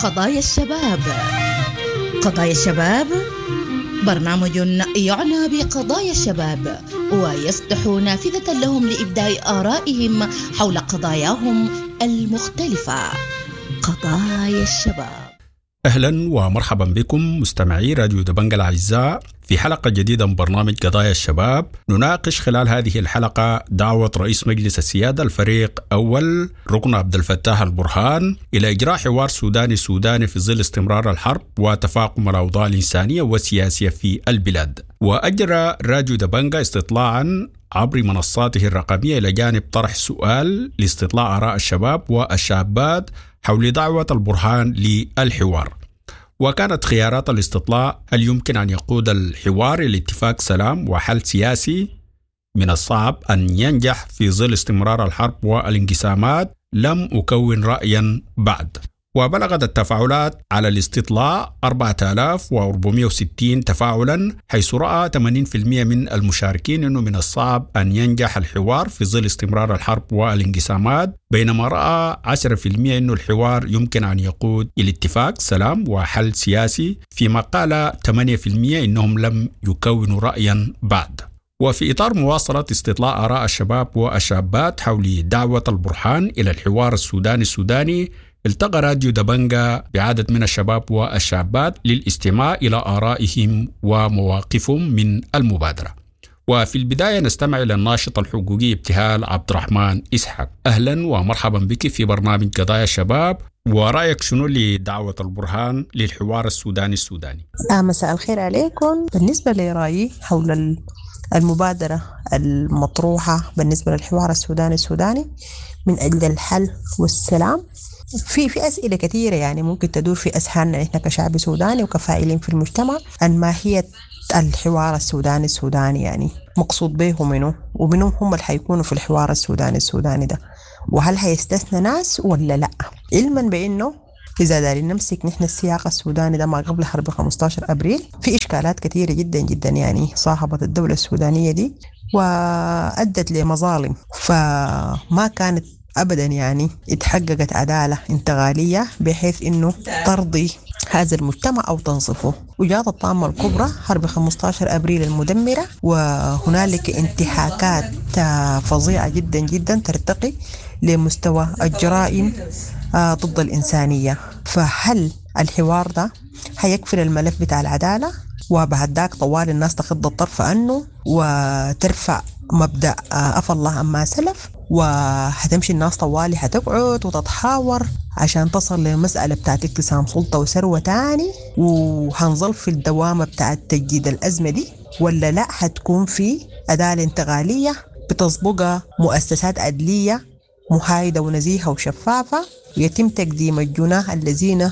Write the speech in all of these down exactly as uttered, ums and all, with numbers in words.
قضايا الشباب. قضايا الشباب برنامج يعنى بقضايا الشباب ويفتح نافذة لهم لإبداء آرائهم حول قضاياهم المختلفة. قضايا الشباب. أهلا ومرحبا بكم مستمعي راديو دبنجة الأعزاء في حلقة جديدة من برنامج قضايا الشباب. نناقش خلال هذه الحلقة دعوة رئيس مجلس السيادة الفريق أول ركن عبد الفتاح البرهان إلى إجراء حوار سوداني سوداني في ظل استمرار الحرب وتفاقم الأوضاع الإنسانية والسياسية في البلاد. وأجرى راديو دبنجة استطلاعا عبر منصاته الرقمية إلى جانب طرح سؤال لاستطلاع آراء الشباب والشابات حول دعوة البرهان للحوار. وكانت خيارات الاستطلاع: هل يمكن أن يقود الحوار إلى اتفاق سلام وحل سياسي؟ من الصعب أن ينجح في ظل استمرار الحرب والانقسامات، لم أكون رأيا بعد. وبلغت التفاعلات على الاستطلاع أربعة آلاف وأربعمائة وستين تفاعلا، حيث رأى ثمانين بالمئة من المشاركين أنه من الصعب أن ينجح الحوار في ظل استمرار الحرب والانقسامات، بينما رأى عشرة بالمئة أنه الحوار يمكن أن يقود إلى اتفاق سلام وحل سياسي، فيما قال ثمانية بالمئة أنهم لم يكونوا رأيا بعد. وفي إطار مواصلة استطلاع آراء الشباب والشابات حول دعوة البرهان إلى الحوار السوداني السوداني، التقى راديو دبنجة بعدد من الشباب والشابات للاستماع إلى آرائهم ومواقفهم من المبادرة. وفي البداية نستمع إلى الناشط الحقوقي ابتهال عبد الرحمن إسحاق. أهلا ومرحبا بك في برنامج قضايا الشباب، ورأيك شنو لدعوة البرهان للحوار السوداني السوداني؟ آه مساء الخير عليكم. بالنسبة لرأيي حول المبادرة المطروحة بالنسبة للحوار السوداني السوداني من أجل الحل والسلام، في في أسئلة كثيرة يعني ممكن تدور في أذهاننا نحن كشعب سوداني وكفاعلين في المجتمع عن ماهية الحوار السوداني السوداني، يعني مقصود به منه ومنهم هم اللي حيكونوا في الحوار السوداني السوداني ده، وهل هيستثنى ناس ولا لا؟ علما بأنه إذا دارين نمسك نحن السياق السوداني ده ما قبل حرب خمسة عشر أبريل في إشكالات كثيرة جدا جدا يعني صاحبت الدولة السودانية دي وأدت لمظالم، فما كانت أبدا يعني اتحققت عدالة انتقالية بحيث إنه ترضي هذا المجتمع أو تنصفه. وجاءت الطامة الكبرى حرب خمسة عشر أبريل المدمرة، وهنالك انتهاكات فظيعة جدا جدا ترتقي لمستوى الجرائم ضد الإنسانية. فهل الحوار ده هيكفل الملف بتاع العدالة وبعد ذاك طوال الناس تخض الطرف عنه وترفع مبدأ أفى الله عما سلف، وهتمشي الناس طوالي هتقعد وتتحاور عشان تصل للمسألة بتاعت اقتسام سلطة وثروة تاني، وهنظل في الدوامة بتاعت تجديد الأزمة دي، ولا لا هتكون في عدالة انتقالية بتسبقها مؤسسات عدلية محايدة ونزيهة وشفافة ويتم تقديم الجناه الذين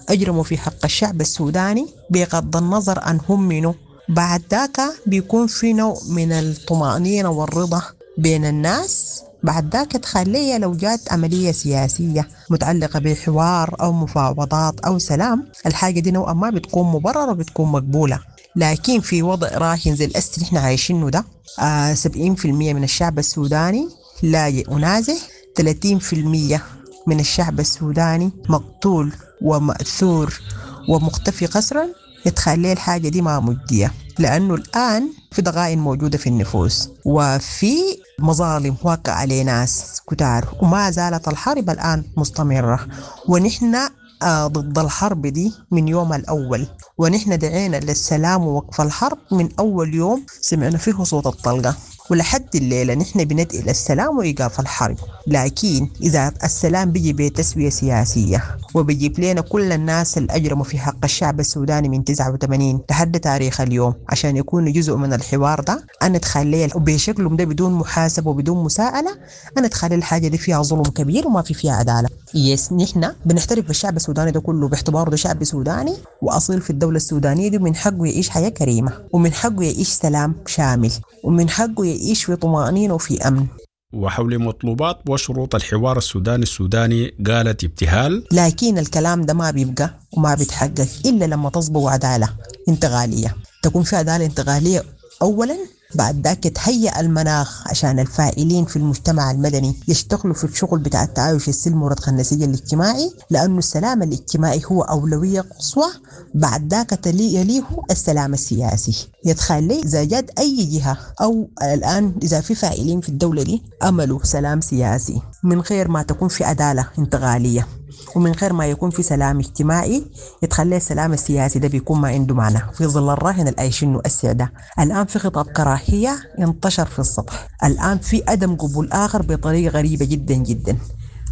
أجرموا في حق الشعب السوداني بغض النظر عن هم منه. بعد ذاك بيكون في نوع من الطمأنينة والرضا بين الناس. بعد ذاك تخليه لو جات عملية سياسية متعلقة بحوار أو مفاوضات أو سلام، الحاجة دي نوعا ما بتكون مبررة وبتكون مقبولة. لكن في وضع راهن زي الأس اللي احنا عايشينه ده، آه سبعين بالمئة من الشعب السوداني لاجئ ونازح، ثلاثين بالمئة من الشعب السوداني مقتول ومأثور ومختفي قسرا. يتخلي الحاجة دي ما مجدية، لأنه الآن في ضغائن موجودة في النفوس وفي مظالم واقع عليه ناس كتار، وما زالت الحرب الآن مستمرة، ونحن ضد الحرب دي من يوم الأول، ونحن دعينا للسلام ووقف الحرب من أول يوم سمعنا فيه صوت الطلقة، ولحد الليلة نحن بندعي للسلام وإيقاف الحرب. لكن إذا السلام بيجي بتسوية سياسية وبيجيب لنا كل الناس اللي أجرموا في حق الشعب السوداني من تسعة وثمانين لحد تاريخ اليوم عشان يكونوا جزء من الحوار ده، أنا أتخيل وبشكلهم ده بدون محاسبة وبدون مساءلة، أنا أتخيل الحاجة دي فيها ظلم كبير وما في فيها عدالة. يس نحن بنحترف بالشعب السوداني ده كله باعتباره ده شعب سوداني وأصيل في الدولة السودانية دي، من حقه يعيش حياة كريمة، ومن حقه يعيش سلام شامل، ومن حقه يعيش في طمأنينة وفي أمن. وحول مطلوبات وشروط الحوار السوداني السوداني قالت ابتهال: لكن الكلام ده ما بيبقى وما بيتحقق إلا لما تصبغ عدالة انتقالية، تكون في عدالة انتقالية أولا بعد ذاك يتهيأ المناخ عشان الفاعلين في المجتمع المدني يشتغلوا في الشغل بتاع التعايش السلمي ورضخ النسيج الاجتماعي، لأنه السلام الاجتماعي هو أولوية قصوى، بعد ذاك يليه السلام السياسي. يتخلي إذا جات أي جهة أو الآن إذا في فاعلين في الدولة دي أملوا سلام سياسي من غير ما تكون في عدالة انتقالية ومن غير ما يكون في سلام اجتماعي، يتخلي السلام السياسي ده بيكون ما عنده معنى في ظل الراهن العايشينه السياسي ده. الآن في خطاب كراهية انتشر في السطح، الآن في عدم قبول آخر بطريقة غريبة جدا جدا.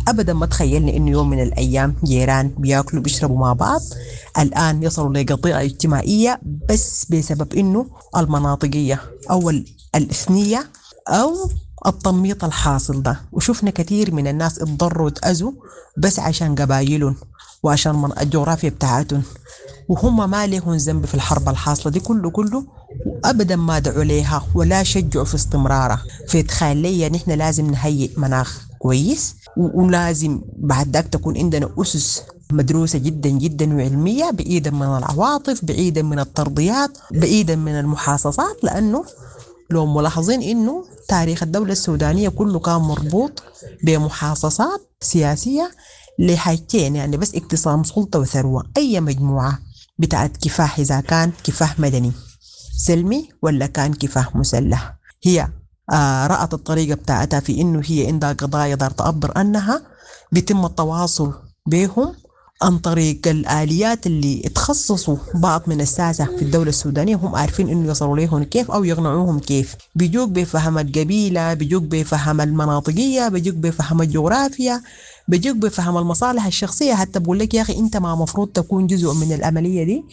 أبدا ما تخيلنا إنه يوم من الأيام جيران بياكلوا بيشربوا مع بعض الآن يصلوا لقضية اجتماعية بس بسبب إنه المناطقية أو الإثنية أو التنميط الحاصل ده. وشفنا كثير من الناس اتضروا وتأذوا بس عشان قبايلهم وعشان الجغرافيا بتاعتهم، وهم ما لهم ذنب في الحرب الحاصلة دي كله كله، وأبدا ما دعوا ليها ولا شجعوا في استمرارها. فتخيل نحن لازم نهيئ مناخ كويس، ولازم بعد ذاك تكون عندنا أسس مدروسة جدا جدا وعلمية، بعيدا من العواطف، بعيدا من الترضيات، بعيدا من المحاصصات. لأنه لو ملاحظين إنه تاريخ الدولة السودانية كله كان مربوط بمحاصصات سياسية لحاجتين، يعني بس اقتسام سلطة وثروة. أي مجموعة بتاعت كفاح، إذا كان كفاح مدني سلمي ولا كان كفاح مسلح، هي آه رأت الطريقة بتاعتها في إنه هي عندها قضايا دار تعبر أنها بيتم التواصل بهم عن طريق الآليات اللي تخصصوا بعض من الساسة في الدولة السودانية، هم عارفين إنه يصلوا ليهم كيف أو يقنعوهم كيف. بيجوك بفهم القبيلة، بيجوك بفهم المناطقية، بيجوك بفهم الجغرافيا، بيجوك بفهم المصالح الشخصية. حتى بقول لك يا أخي أنت ما مفروض تكون جزء من العملية دي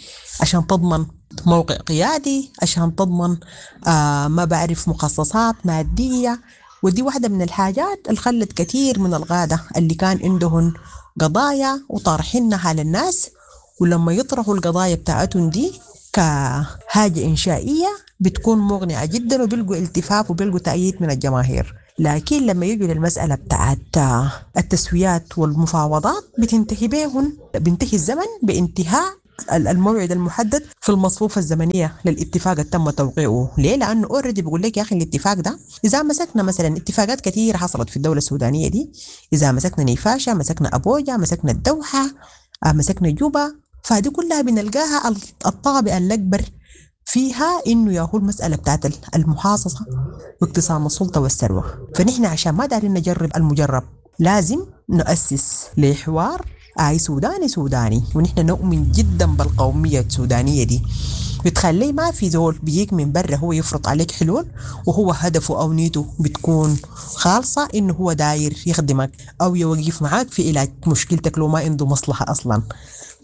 عشان تضمن موقع قيادي، عشان تضمن آه ما بعرف مخصصات مادية. ودي واحدة من الحاجات اللي خلت كثير من القادة اللي كان عندهم قضايا وطارحينها للناس، ولما يطرحوا القضايا بتاعتهم دي كحاجة إنشائية بتكون مغنية جدا، وبيلقوا التفاف وبيلقوا تأييد من الجماهير. لكن لما يجوا للمسألة بتاعت التسويات والمفاوضات بتنتهي بيهن، بينتهي الزمن بانتهاء الموعد المحدد في المصفوفة الزمنية للاتفاق اللي تم توقيعه. ليه؟ لأنه already بيقول لك يا أخي الاتفاق ده إذا مسكنا مثلا اتفاقات كثيرة حصلت في الدولة السودانية دي، إذا مسكنا نيفاشا، مسكنا أبوجا، مسكنا الدوحة، مسكنا جوبا، فهذه كلها بنلقاها الطابع الأكبر فيها إنه ياهو المسألة بتاعت المحاصصة واقتسام السلطة والثروة. فنحن عشان ما دارين نجرب المجرب لازم نؤسس لحوار آي سوداني سوداني، ونحن نؤمن جدا بالقومية السودانية دي. بتخلي ما في زول بيجيك من برا هو يفرض عليك حلول وهو هدفه أو نيته بتكون خالصة إنه هو داير يخدمك أو يوقف معاك في علاج مشكلتك لو ما عنده مصلحة أصلا.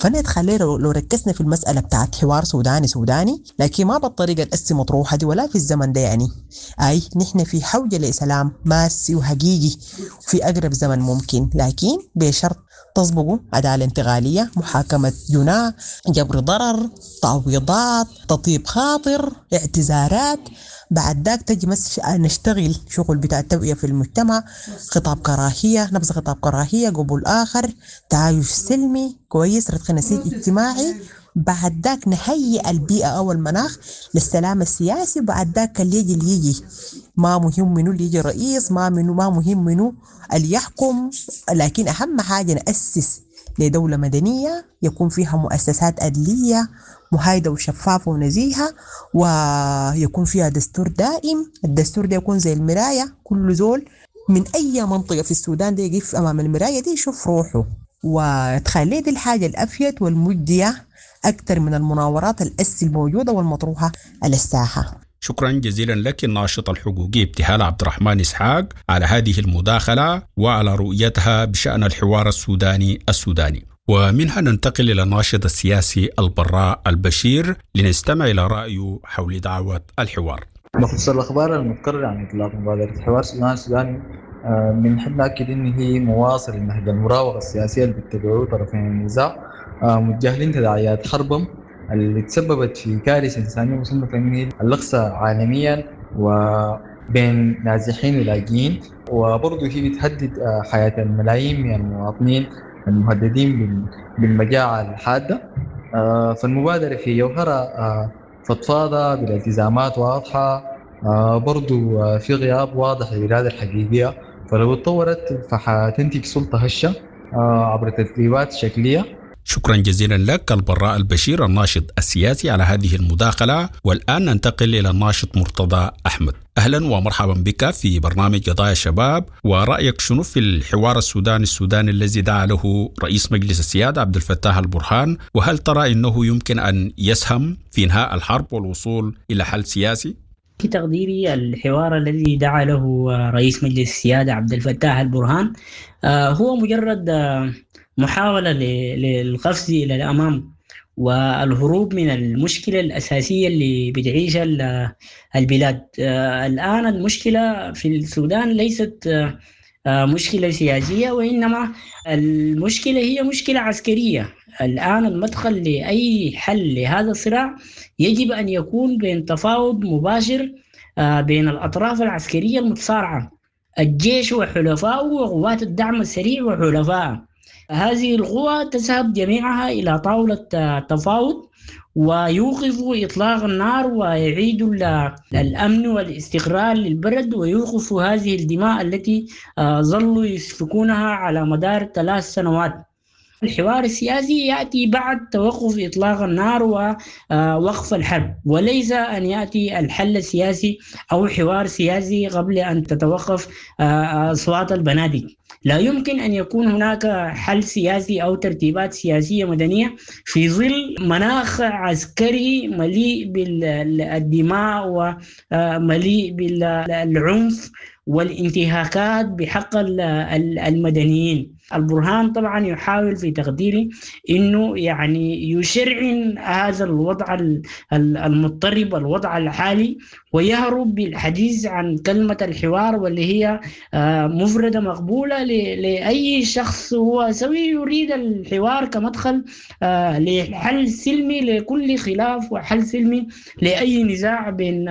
فأنا اتخلي لو ركزنا في المسألة بتاعت حوار سوداني سوداني، لكن ما بالطريقة الأسي مطروحة دي ولا في الزمن ده. يعني أي نحن في حوجة لسلام ماسي وحقيقي في أقرب زمن ممكن، لكن بشرط تسبقوا عدالة انتقالية، محاكمة جناة، جبر ضرر، تعويضات، تطيب خاطر، اعتذارات. بعد ذاك تجي مس نشتغل شغل بتاع التوعية في المجتمع، خطاب كراهية، نبذ خطاب كراهية، قبول آخر، تعايش سلمي كويس، رتق نسيج اجتماعي. بعد ذاك نهيئ البيئة أو المناخ للسلام السياسي. بعد ذاك اللي يجي اللي يجي ما مهم منو اللي يجي رئيس، ما منو ما مهم منو اللي يحكم، لكن أهم حاجة نأسس لدولة مدنية يكون فيها مؤسسات عدلية محايدة وشفافة ونزيهة، ويكون فيها دستور دائم. الدستور ده يكون زي المراية، كل زول من أي منطقة في السودان ده يقف أمام المراية دي يشوف روحه. وتخلي دي الحاجة الأفيد والمجدية أكثر من المناورات الأس الموجودة والمطروحة على الساحة. شكرا جزيلا لك الناشط الحقوقي ابتهال عبد الرحمن إسحاق على هذه المداخلة وعلى رؤيتها بشأن الحوار السوداني السوداني. ومنها ننتقل إلى الناشط السياسي البراء البشير لنستمع إلى رأيه حول دعوة الحوار. بخصوص الأخبار المتكررة عن إطلاق مبادرة حوار السودان السوداني، بنحب نأكد إن هي مواصل لنهج المراوغة السياسية اللي بيتبعوه طرفين النزاع، متجاهلين تداعيات حربهم اللي تسببت في كارثة إنسانية مصنفة من هي الأقصى عالميا وبين نازحين ولاجئين، وبرضه هي بتهدد حياة الملايين من المواطنين المهددين بالمجاعة الحادة. فالمبادرة في جوهرها فضفاضة بالالتزامات واضحة برضو في غياب واضح للإرادة الحقيقية، فلو اتطورت فحتنتج سلطة هشة عبر ترتيبات شكلية. شكرا جزيلا لك البراء البشير الناشط السياسي على هذه المداخلة. والآن ننتقل إلى الناشط مرتضى أحمد. أهلا ومرحبا بك في برنامج قضايا الشباب، ورأيك شنو في الحوار السوداني السوداني الذي دعا له رئيس مجلس السيادة عبد الفتاح البرهان، وهل ترى أنه يمكن أن يسهم في إنهاء الحرب والوصول إلى حل سياسي؟ في تقديري الحوار الذي دعا له رئيس مجلس السيادة عبد الفتاح البرهان هو مجرد محاولة للقفز إلى الأمام والهروب من المشكلة الأساسية اللي بتعيشها البلاد. الآن المشكلة في السودان ليست مشكلة سياسية، وإنما المشكلة هي مشكلة عسكرية. الآن المدخل لأي حل لهذا الصراع يجب أن يكون بين تفاوض مباشر بين الأطراف العسكرية المتصارعة، الجيش وحلفائه وقوات الدعم السريع وحلفائه. هذه القوى تذهب جميعها إلى طاولة تفاوض ويوقفوا إطلاق النار ويعيدوا الأمن والاستقرار للبلد ويوقفوا هذه الدماء التي ظلوا يسفكونها على مدار ثلاث سنوات. الحوار السياسي يأتي بعد توقف إطلاق النار ووقف الحرب، وليس أن يأتي الحل السياسي أو حوار سياسي قبل أن تتوقف أصوات البنادق. لا يمكن أن يكون هناك حل سياسي أو ترتيبات سياسية مدنية في ظل مناخ عسكري مليء بالدماء ومليء بالعنف والانتهاكات بحق المدنيين. البرهان طبعا يحاول في تقديري انه يعني يشرعن هذا الوضع المضطرب، الوضع الحالي، ويهرب بالحديث عن كلمة الحوار واللي هي مفردة مقبولة لأي شخص هو سوي يريد الحوار كمدخل لحل سلمي لكل خلاف وحل سلمي لأي نزاع بين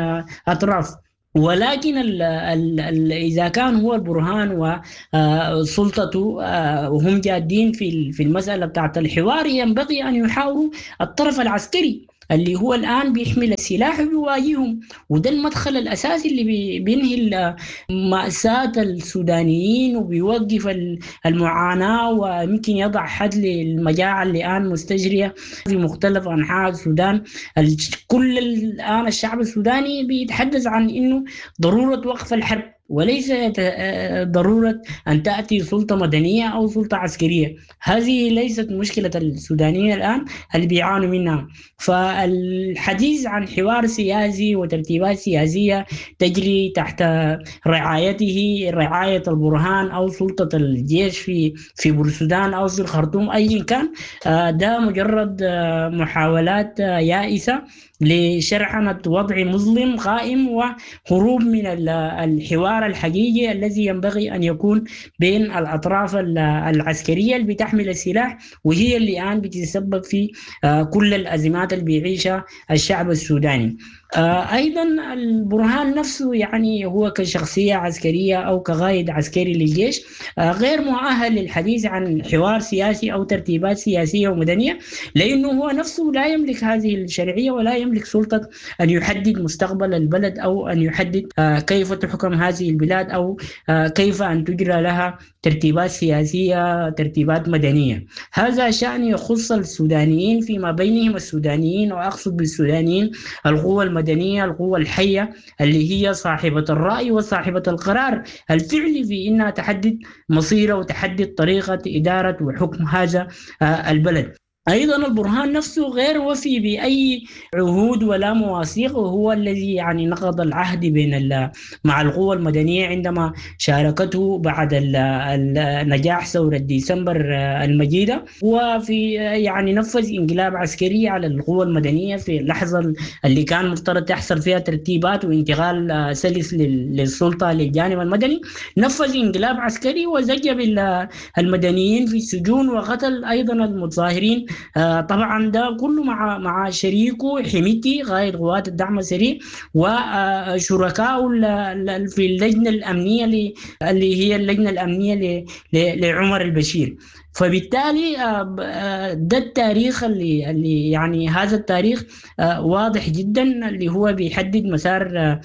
أطراف. ولكن ال ال ال إذا كان هو البرهان وسلطته وهم جادين في في المسألة بتاعت الحوار، ينبغي أن يحاوروا الطرف العسكري اللي هو الآن بيحمل السلاح وبيواجههم، وده المدخل الأساسي اللي بينهي مأساة السودانيين وبيوقف المعاناة ويمكن يضع حد للمجاعة اللي الآن مستجرية في مختلف أنحاء السودان. كل الآن الشعب السوداني بيتحدث عن إنه ضرورة وقف الحرب وليس ضرورة أن تأتي سلطة مدنية أو سلطة عسكرية. هذه ليست مشكلة السودانيين الآن اللي بيعانوا منها. فالحديث عن حوار سياسي وترتيبات سياسية تجري تحت رعايته، رعاية البرهان أو سلطة الجيش في في بورسودان أو في الخرطوم أيا كان، ده مجرد محاولات يائسة لشرعنة وضع مظلم قائم وهروب من الحوار الحقيقي الذي ينبغي أن يكون بين الأطراف العسكرية اللي بتحمل السلاح، وهي اللي الآن بتتسبب في كل الأزمات اللي بيعيشها الشعب السوداني. أيضا البرهان نفسه يعني هو كشخصية عسكرية أو كقائد عسكري للجيش غير مؤهل للحديث عن حوار سياسي أو ترتيبات سياسية ومدنية، لأنه هو نفسه لا يملك هذه الشرعية ولا يملك سلطة أن يحدد مستقبل البلد أو أن يحدد كيف تحكم هذه البلاد أو كيف أن تجرى لها ترتيبات سياسية، ترتيبات مدنية. هذا شأن يخص السودانيين فيما بينهم، السودانيين، وأقصد بالسودانيين القوى المدنية، القوى الحية اللي هي صاحبة الرأي وصاحبة القرار الفعلي في إنها تحدد مصيره وتحدد طريقة إدارة وحكم هذا البلد. أيضا البرهان نفسه غير وفي بأي عهود ولا مواثيق، وهو الذي يعني نقض العهد بين مع القوى المدنية عندما شاركته بعد نجاح ثورة ديسمبر المجيدة، وفي يعني نفذ انقلاب عسكري على القوى المدنية في اللحظة اللي كان مفترض تحصل فيها ترتيبات وانتقال سلس للسلطة للجانب المدني. نفذ انقلاب عسكري وزج بالمدنيين في السجون وقتل أيضا المتظاهرين. طبعا ده كله مع مع شريكه حميتي قائد قوات الدعم السريع وشركائه في اللجنة الامنية اللي هي اللجنة الامنية لعمر البشير. فبالتالي ده التاريخ اللي, اللي يعني هذا التاريخ واضح جدا، اللي هو بيحدد مسار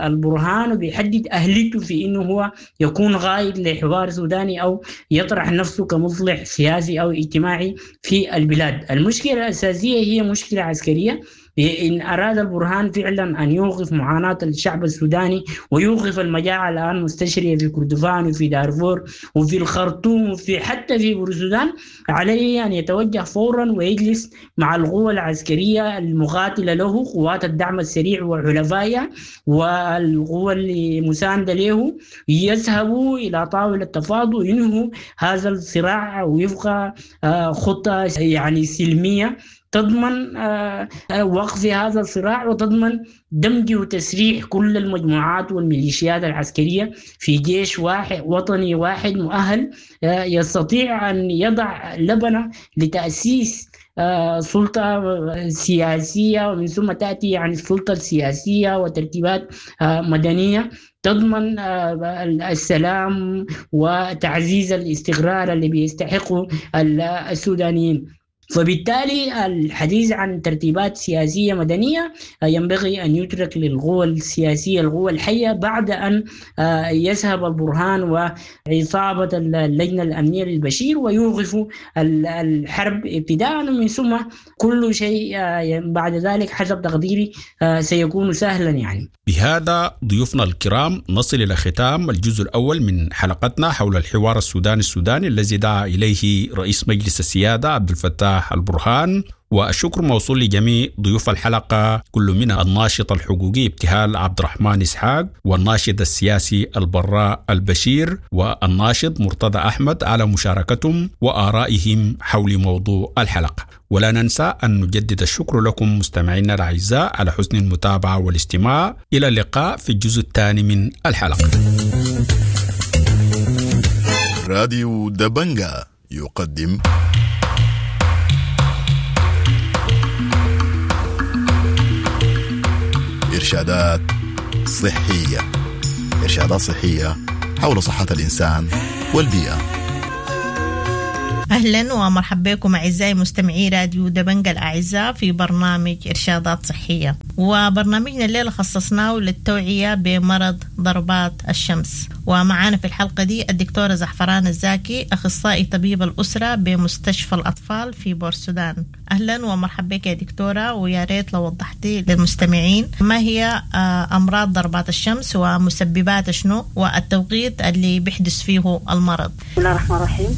البرهان وبيحدد أهليته في إنه هو يكون قائد لحوار سوداني أو يطرح نفسه كمصلح سياسي أو اجتماعي في البلاد. المشكلة الأساسية هي مشكلة عسكرية. إن أراد البرهان فعلا أن يوقف معاناة الشعب السوداني ويوقف المجاعة الآن مستشرية في كردفان وفي دارفور وفي الخرطوم وفي حتى في بورسودان، عليه أن يتوجه فورا ويجلس مع القوى العسكرية المقاتلة له، قوات الدعم السريع وحلفائها والقوى المساندة له، يذهبوا إلى طاولة التفاوض وينهوا هذا الصراع ويبقى خطة يعني سلمية تضمن وقف هذا الصراع وتضمن دمج وتسريح كل المجموعات والميليشيات العسكرية في جيش واحد وطني واحد مؤهل يستطيع أن يضع لبنة لتأسيس سلطة سياسية، ومن ثم تأتي يعني السلطة السياسية وترتيبات مدنية تضمن السلام وتعزيز الاستقرار اللي بيستحقه السودانيين. فبالتالي الحديث عن ترتيبات سياسية مدنية ينبغي أن يترك للقوى السياسية، القوى الحية، بعد أن يذهب البرهان وعصابة اللجنة الأمنية للبشير ويوقفوا الحرب ابتداء، ومن ثم كل شيء بعد ذلك حسب تقديري سيكون سهلا. يعني بهذا ضيوفنا الكرام نصل إلى ختام الجزء الأول من حلقتنا حول الحوار السوداني السوداني الذي دعا إليه رئيس مجلس السيادة عبد الفتاح البرهان، والشكر موصول لجميع ضيوف الحلقة، كل من الناشط الحقوقي ابتهال عبد الرحمن إسحاق، والناشط السياسي البراء البشير، والناشط مرتضى أحمد على مشاركتهم وآرائهم حول موضوع الحلقة. ولا ننسى أن نجدد الشكر لكم مستمعينا الأعزاء على حسن المتابعة والاستماع. إلى اللقاء في الجزء الثاني من الحلقة. راديو دبنجا يقدم إرشادات صحية، إرشادات صحية حول صحة الإنسان والبيئة. أهلا ومرحبا بكم أعزائي مستمعي راديو دبنجا الأعزاء في برنامج إرشادات صحية، وبرنامجنا الليلة خصصناه للتوعية بمرض ضربات الشمس. ومعانا في الحلقة دي الدكتورة زعفران الزاكي، أخصائي طبيب الأسرة بمستشفى الأطفال في بورسودان. أهلا ومرحبا بك يا دكتورة، ويا ريت لو وضحتي للمستمعين ما هي أمراض ضربات الشمس ومسببات شنو والتوقيت اللي بيحدث فيه المرض. بسم الله الرحمن الرحيم.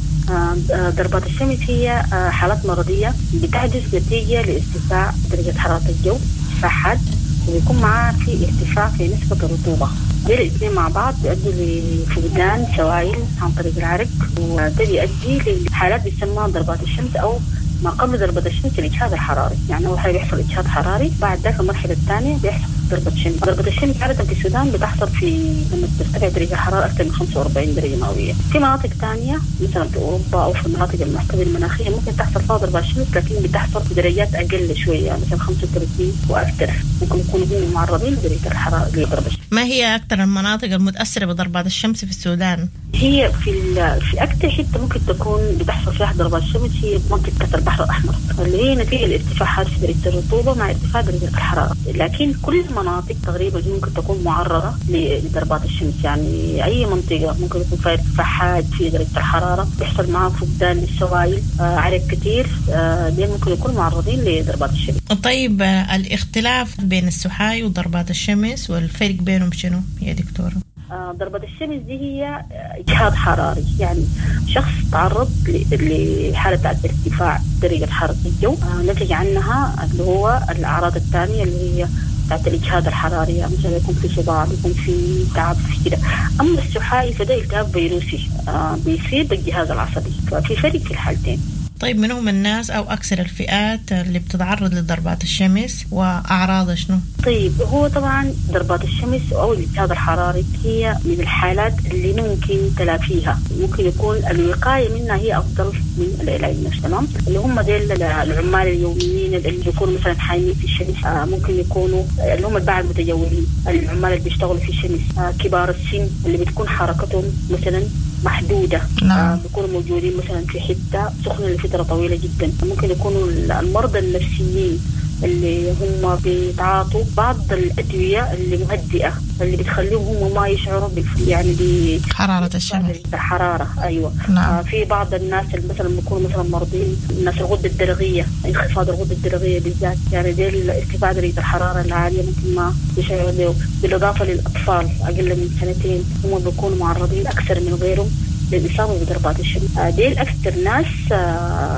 ضربات الشمس هي حالات مرضية بتحدث نتيجة لارتفاع درجة حرارة الجو ارتفاع حاد، وبيكون معها في ارتفاع في نسبة الرطوبة. دي الاثنين مع بعض بيؤدوا لفقدان سوائل عن طريق العرق، وده بيؤدي لحالات بيسمى ضربات الشمس أو ما قبل ضربة الشمس الإجهاد الحراري. يعني أول حاجة بيحصل إجهاد حراري، بعد ذاك المرحلة الثانية بيحصل ضربة شمس. ضربة الشمس عادة في السودان بتحصل في لما ترتفع درجة الحرارة أكثر من خمسة وأربعين درجة مئوية. في مناطق ثانية مثلا في أوروبا أو في المناطق المعتدلة المناخية ممكن تحصل فيها ضربة شمس، لكن بتحصل في درجات أقل شوية، مثلا خمسة وثلاثين وأكثر، ممكن يكونوا هم معرضين لدرجة الحرارة لضربة الشمس. ما هي أكثر المناطق المتأثرة بضربات الشمس في السودان؟ هي في في أكثر حتة ممكن تكون بتحصل فيها ضربات الشمس هي منطقة البحر الأحمر، اللي هي نتيجة لارتفاعات في درجة الرطوبة مع ارتفاع درجة الحرارة. لكن كل المناطق تقريبا ممكن تكون معرضة لضربات الشمس، يعني أي منطقة ممكن يكون فيها ارتفاع حاد في درجة الحرارة بيحصل معها فقدان للسوائل، آه عرق كثير، آه دي ممكن يكونوا معرضين لضربات الشمس. طيب الاختلاف بين السحاي وضربات الشمس والفرق بينهم شنو يا دكتورة؟ ضربة الشمس دي هي إجهاد حراري، يعني شخص تعرض لحالة ارتفاع درجة حرارة الجو نتج عنها اللي هو الأعراض الثانية اللي هي بتاعت الإجهاد الحراري، يعني مثلا يكون في صداع، يكون في تعب في كده. أما السحائي فده التهاب فيروسي بيصيب الجهاز العصبي، ففي فرق في الحالتين. طيب من هم الناس أو أكثر الفئات اللي بتتعرض لضربات الشمس وأعراضها شنو؟ طيب هو طبعا ضربات الشمس أو الإجهاد الحراري هي من الحالات اللي ممكن تلافيها، ممكن يكون الوقاية منها هي أفضل من العلاج نفسه. تمام، اللي هم ديل العمال اليوميين اللي بيكونوا مثلا حايمين في الشمس، ممكن يكونوا اللي هم الباعة المتجولين، العمال اللي بيشتغلوا في الشمس، كبار السن اللي بتكون حركتهم مثلا محدودة. نعم. آه بيكونوا موجودين مثلا في حتة سخنة لفترة طويلة جدا. ممكن يكونوا المرضى النفسيين اللي هم بيتعاطوا بعض الأدوية اللي مهدئة اللي بتخليهم هم ما يشعروا بالف... يعني حرارة الشمس، الحرارة. أيوة. نعم. آه في بعض الناس اللي مثلا بيكونوا مثلا مرضين، الناس الغدة الدرقية، انخفاض الغدة الدرقية بالذات، يعني دي ارتفاع درجة الحرارة العالية ممكن ما يشعروا به. بالإضافة للأطفال أقل من سنتين هم بيكونوا معرضين أكثر من غيرهم للإصابة بضربات الشمس. ديل أكثر ناس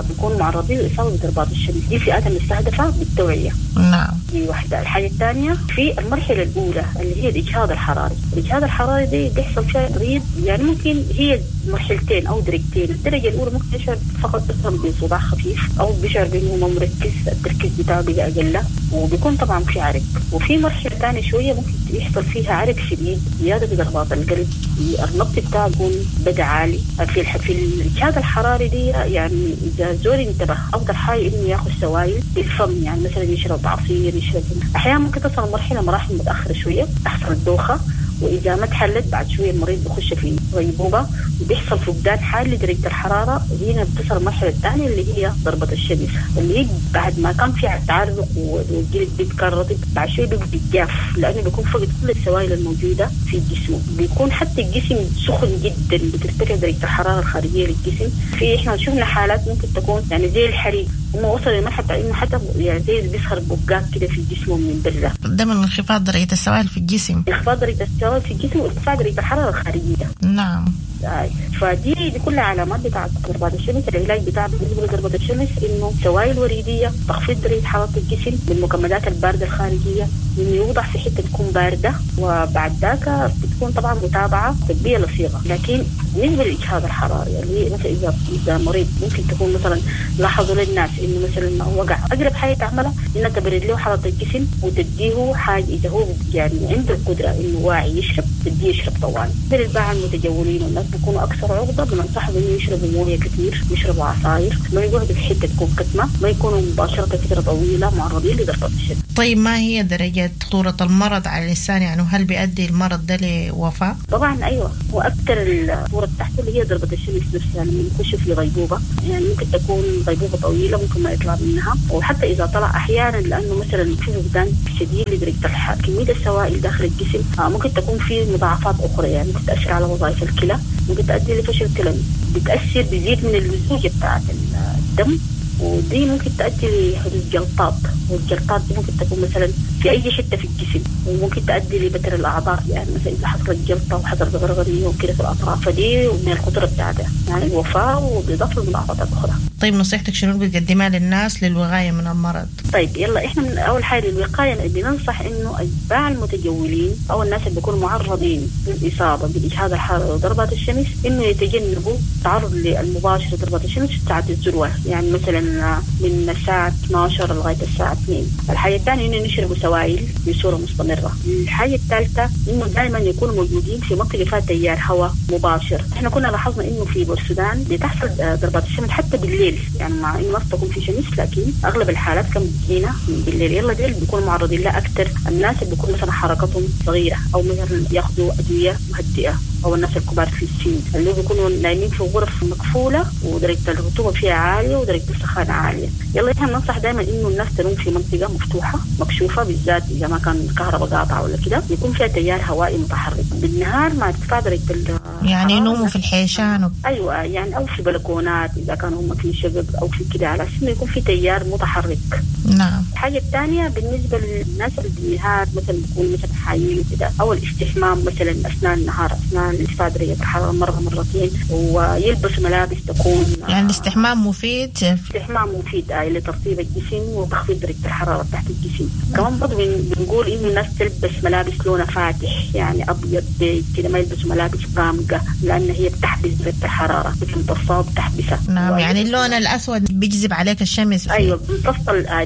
بيكونوا معرضين للإصابة بضربات الشمس. دي فئات المستهدفة بالتوعية. نعم. دي واحدة. الحاجة الثانية في المرحلة الأولى اللي هي الإجهاد الحراري. الإجهاد الحراري دي بيحصل فيها مريض، يعني ممكن هي مرحلتين أو درجتين. الدرجة الأولى ممكن يشعر فقط مثلا بصداع خفيف أو بيشعر بأنه ما مركز، التركيز بتاعه بقى أقل، وبيكون طبعا في عرق. وفي مرحلة ثانية شوية ممكن يحصل فيها عرق شديد، زيادة في ضربات القلب، النبض بتاعه يكون بدأ عالي. في في الإجهاد الحراري دي يعني إذا زول انتبه أفضل حاجة إنه ياخذ سوائل بالفم، يعني مثلا يشرب عصير، يشرب. أحيانا ممكن تصل مرحلة مراحل متأخرة شوية تحصل الدوخة، وإذا ما تحلت بعد شوية المريض بيخش في غيبوبة وبيحصل فقدان حاد لدرجة الحرارة. هنا بتصل المرحلة الثانية اللي هي ضربة الشمس، اللي هي بعد ما كان في تعرق والجلد بيبقى رطب، بعد شوية بيبقى جاف لأنه بيكون فقد كل السوائل الموجودة في الجسم، بيكون حتى الجسم سخن جدا، بترتفع درجة الحرارة الخارجية للجسم. في إحنا شفنا حالات ممكن تكون يعني زي الحريق، هم وصل لمرحلة إنه حتى يعني زي بيسخر بقات كده في جسمه من برا. ده من انخفاض درجة السوائل في الجسم. انخفاض درجة السوائل في الجسم وارتفاع درجة الحرارة الخارجية. نعم. فدي دي كلها علامات بتاعت ضربات الشمس. العلاج بتاع بالنسبة لضربة الشمس إنه سوائل وريدية، تخفيض درجة حرارة الجسم بالمكملات الباردة الخارجية، إنه يوضع في حتة تكون باردة، وبعد ذاك بتكون طبعا متابعة طبية لصيغة. لكن بالنسبة للإجهاد الحراري اللي مثلا إذا إذا مريض ممكن تكون مثلا لاحظوا للناس إنه مثلا وقع، أقرب حاجة تعملها إنها تبرد له حرارة الجسم وتديه حاجة إذا هو يعني عنده القدرة إنه واعي يشرب، تديه يشرب طوال. بالباع المتجولين والناس بيكونوا أكثر عرضة، بننصحهم إنه يشربوا موية كثير، يشربوا عصاير، ما يقعدوا في حتة تكون كتمة، ما يكونوا مباشرة فترة طويلة معرضين لضربة الشمس. طيب ما هي درجة خطورة المرض على الإنسان؟ يعني هل بيؤدي المرض ده لوفاة؟ طبعا أيوة، وأكثر الخطورة بتاعته اللي هي ضربة الشمس نفسها لما يخش في غيبوبة، يعني ممكن تكون غيبوبة طويلة ممكن ما يطلع منها، وحتى إذا طلع أحيانا لأنه مثلا في فقدان شديد لدرجة الحرارة، كمية السوائل داخل الجسم ممكن تكون في مضاعفات أخرى، يعني ممكن تأثر على وظائف الكلى، ممكن تؤدي لفشل كلوي، بتأثر بيزيد من اللزوجة بتاعت الدم، ودي ممكن تؤدي لحدوث جلطات، والجلطات دي ممكن تكون مثلا في أي حتة في الجسم، وممكن تؤدي لبتر الأعضاء، يعني مثلا إذا حصلت جلطة وحصلت غرغرية وكده في الأطراف، فدي من الخطورة بتاعتها يعني الوفاة وبإضافة للمضاعفات الأخرى. طيب نصيحتك شنو بتقدمها للناس للوقاية من المرض؟ طيب يلا إحنا من أول حاجة للوقاية بننصح إنه أتباع المتجولين أو الناس اللي بيكونوا معرضين للإصابة بالإجهاد الحراري وضربات الشمس إنه يتجنبوا التعرض للمباشر لضربات الشمس في ساعة الذروة، يعني مثلا من الساعة اثنا عشر لغاية الساعة اثنين. الحاجة الثانية إنه يشربوا سوائل بصورة مستمرة. الحاجة الثالثة إنه دائما يكونوا موجودين في منطقة فيها تيار هواء مباشر. إحنا كنا لاحظنا إنه في بورسودان بتحصل ضربات الشمس حتى بالليل، يعني مع إنه ما تكون في شمس لكن أغلب الحالات كان بتجينا بالليل. يلا ديل بيكونوا معرضين لها أكثر الناس اللي بيكون مثلا حركتهم صغيرة أو مثلا ياخذوا أدوية مهدئة، أو الناس الكبار في السن اللي بيكونوا نايمين في غرف مقفولة ودرجة الرطوبة فيها عالية ودرجة السخانة عالية. يلا إحنا بننصح دائما إنه الناس تنوم في منطقة مفتوحة مكشوفة، بالذات إذا ما كان الكهرباء قاطعة ولا كده، يكون فيها تيار هوائي متحرك بالنهار مع ارتفاع درجة يعني ينوموا في الحيشان و... أيوة يعني أو في بلكونات إذا كانوا هم في شقق أو في كده، على أساس إنه يكون في تيار متحرك. نعم. الحاجة الثانية بالنسبة للناس اللي بالنهار مثلا بيكون مثلا حايين وكده، أو الاستحمام مثلا أثناء النهار أثناء ارتفاع درجة الحرارة مرة مرتين، ويلبس ملابس تكون يعني الاستحمام مفيد. الاستحمام مفيد آه لترطيب الجسم وتخفيض درجة الحرارة تحت الجسم. كمان برضه بنقول إنه الناس تلبس ملابس لونها فاتح، يعني أبيض بيج كده، ما يلبسوا ملابس غامقة لأن هي بتحبس درجة الحرارة، بتمتصها وبتحبسها. نعم، يعني اللون الأسود بيجذب عليك الشمس. أيوة بيمتص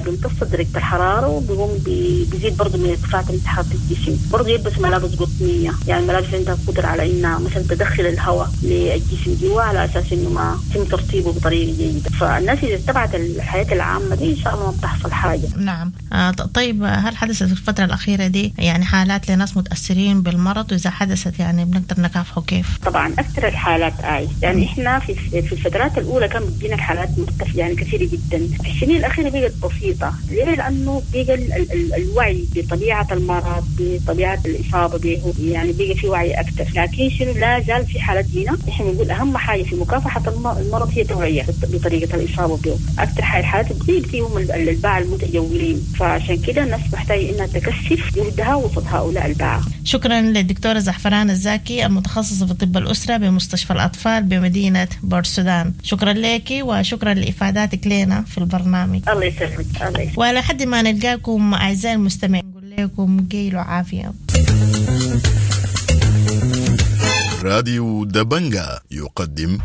بيمتص درجة الحرارة وبيقوم بيزيد برضه من ارتفاع درجة حرارة الجسم. برضه يلبس ملابس قطنية، يعني ملابس عندها قدرة على إنها مثلا تدخل الهواء للجسم جوا على أساس إنه ما ما يتم ترطيبه بطريقة جيدة. فالناس اذا اتبعت الحياة العامة دي ان شاء الله ما بتحصل حاجة. نعم. آه طيب، هل حدثت في الفترة الاخيرة دي يعني حالات لناس متاثرين بالمرض، واذا حدثت يعني بنقدر نكافحه كيف؟ طبعا اكثر الحالات اي يعني احنا في في الفترات الاولى كان بتجينا الحالات مرتفعة يعني كثيرة جدا، في السنين الاخيرة بقت بسيطة. ليه؟ لانه بقى ال ال الوعي بطبيعة المرض، بطبيعة الاصابة به، يعني بقى في وعي اكثر. لكن شنو، لا زال في حالات هنا احنا بنقول اهم حاجة في مكافحة المرض هي التوعية بطريقة الاصابة به. اكثر حاجة الحالات بتصيب فيهم الباعة المتجولين، فعشان كده الناس محتاجه انها تكثف جهدها وسط هؤلاء الباعة. شكرا للدكتوره زعفران الزاكي المتخصصة في طب الاسرة بمستشفى الاطفال بمدينة بورسودان، شكرا لك وشكرا لافاداتك لنا في البرنامج. الله يسلمك. الله يسلمك. ولحد ما نلقاكم اعزائي المستمعين نقول لكم قيل وعافيه. راديو دبنجا يقدم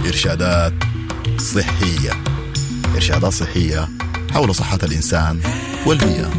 إرشادات صحية. إرشادات صحية حول صحة الإنسان والبيئة.